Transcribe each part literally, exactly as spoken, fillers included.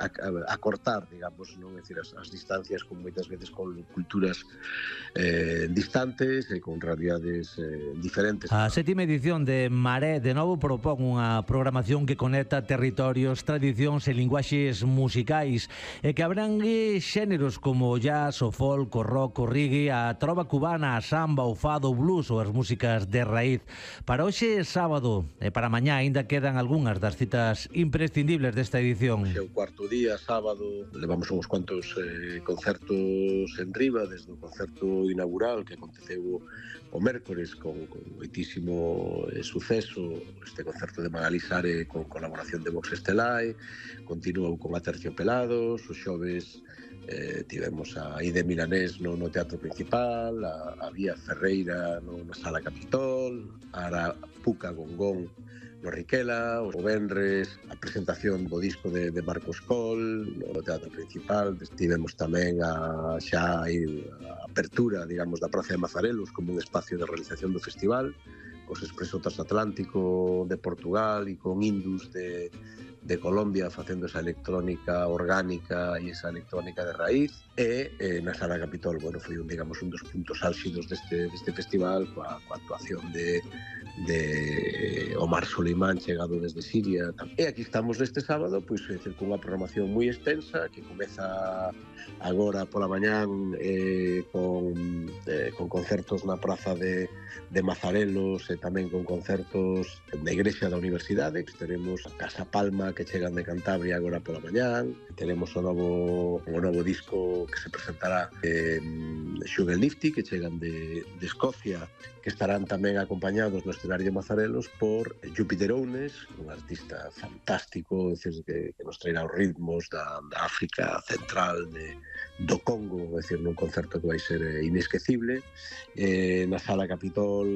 a, a cortar, digamos, non? É dicir, as, as distancias con moitas veces con culturas eh, distantes e con realidades eh, diferentes. A sétima edición de Maré de novo propón unha programación que conecta territorios, tradicións e linguaxes musicais e que abrangue xéneros como o jazz, o folk, o rock, o reggae, a trova cubana, a samba, o fado, o blues ou as músicas de raíz. Para hoxe sábado e para mañá aínda quedan algunhas das citas imprescindibles desta edición. Hoxe é o cuarto día, sábado, levamos uns cuantos eh, concertos en riba, desde o concerto inaugural que aconteceu o mércores con, con moitísimo eh, suceso, este concerto de Magalí Sare con colaboración de Vox Estelai, continuou con Aterciopelados, os xoves eh, tivemos a Ide Milanés no, no Teatro Principal, a, a Vía Ferreira no, na Sala Capitol, a Arapuca Gongón no Riquela, o venres, a presentación do disco de, de Marcos Coll no Teatro Principal. Tivemos tamén a, xa a, a apertura, digamos, da Praza de Mazarelos como un espacio de realización do festival, cos Expreso Transatlántico de Portugal e con Indus de, de Colombia facendo esa electrónica orgánica e esa electrónica de raíz. E eh, na Sala Capitol, bueno, foi un, digamos, un dos puntos álxidos deste, deste festival coa, coa actuación de de Omar Solimán chegado desde Siria. E aquí estamos neste sábado, pois, é dicir, cunha programación moi extensa que comeza agora pola mañán eh, con, eh, con concertos na Praza de, de Mazarelos e tamén con concertos na Igrexa da Universidade. Teremos a Casa Palma que chegan de Cantabria agora pola mañán. Teremos o novo, o novo disco que se presentará eh, Sugar Lifty que chegan de, de Escocia, que estarán tamén acompañados no escenario de Mazarelos por Júpiter Ounes, un artista fantástico, é dicir, que, que nos traerá os ritmos da, da África Central, de, do Congo, é dicir, nun concerto que vai ser eh, inesquecible. Eh, na Sala Capitol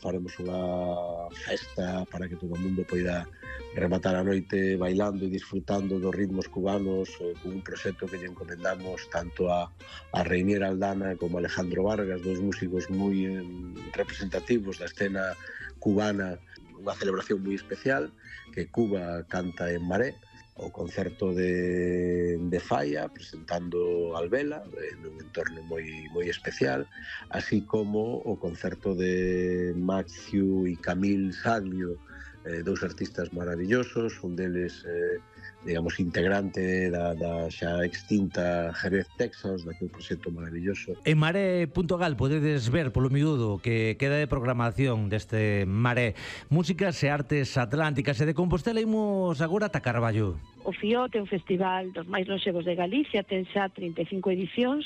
faremos unha festa para que todo o mundo poida rematar a noite bailando e disfrutando dos ritmos cubanos, eh, con un proxecto que lle encomendamos tanto a, a Reinier Aldana como a Alejandro Vargas, dos músicos moi eh, representativos da escena cubana, unha celebración moi especial que Cuba canta en Maré, o concerto de, de Falla presentando Alvela en un entorno moi moi especial, así como o concerto de Matthew e Camille Saglio, eh, dous artistas maravillosos, un deles eh, digamos, integrante da, da xa extinta Jerez Texas, daquele proxecto maravilloso. En Maré punto gal podedes ver polo miúdo que queda de programación deste Maré, músicas e artes atlánticas, e de Compostela imos agora ata Carballo. O FIOT é un festival dos máis lonxevos de Galicia, ten xa trinta e cinco edicións,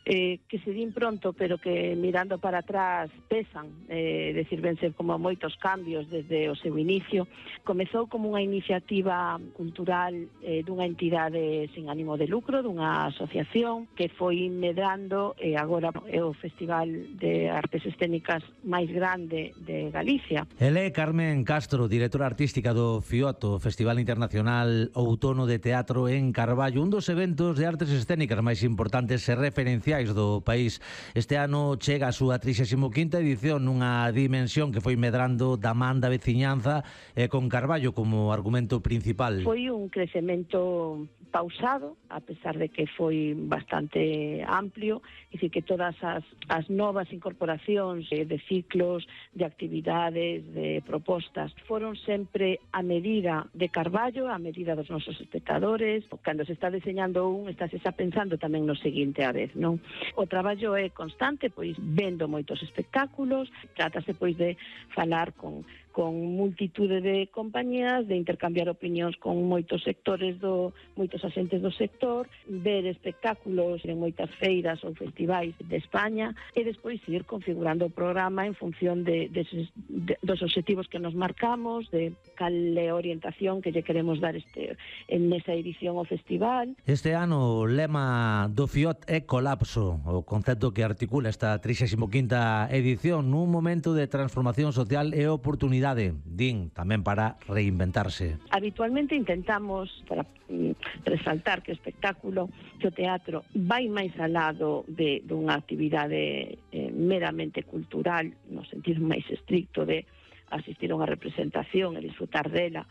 eh, que se din pronto, pero que mirando para atrás pesan, eh, decir, ben ser como moitos cambios desde o seu inicio. Comezou como unha iniciativa cultural eh, dunha entidade sin ánimo de lucro, dunha asociación que foi medrando e agora é o festival de artes escénicas máis grande de Galicia. Ele é Carmen Castro, directora artística do FIOT, o Festival Internacional Outono de Teatro en Carballo, un dos eventos de artes escénicas máis importantes e referenciais do país. Este ano chega a súa trixésima quinta edición nunha dimensión que foi medrando da man da veciñanza e con Carballo como argumento principal. Foi un crecemento pausado, a pesar de que foi bastante amplio, é dicir, que todas as, as novas incorporacións de, de ciclos, de actividades, de propostas, foron sempre a medida de Carballo, a medida dos nosos espectadores. Cando se está deseñando un, está se está pensando tamén no seguinte a vez, non? O traballo é constante, pois vendo moitos espectáculos, trátase pois de falar con con multitude de compañías, de intercambiar opinións con moitos sectores do moitos asentes do sector, ver espectáculos en moitas feiras ou festivais de España e despois ir configurando o programa en función de, de, de dos obxectivos que nos marcamos, de cal é a orientación que lle queremos dar este en esa edición ao festival. Este ano o lema do FIOT é colapso, o concepto que articula esta trixésima quinta edición nun momento de transformación social e oportunidade, din, tamén para reinventarse. Habitualmente intentamos, para mm, resaltar que o espectáculo, que o teatro vai máis al lado de, de unha actividade eh, meramente cultural, no sentido máis estricto de asistir a unha representación e disfrutar dela,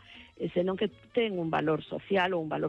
senón que ten un valor social ou un valor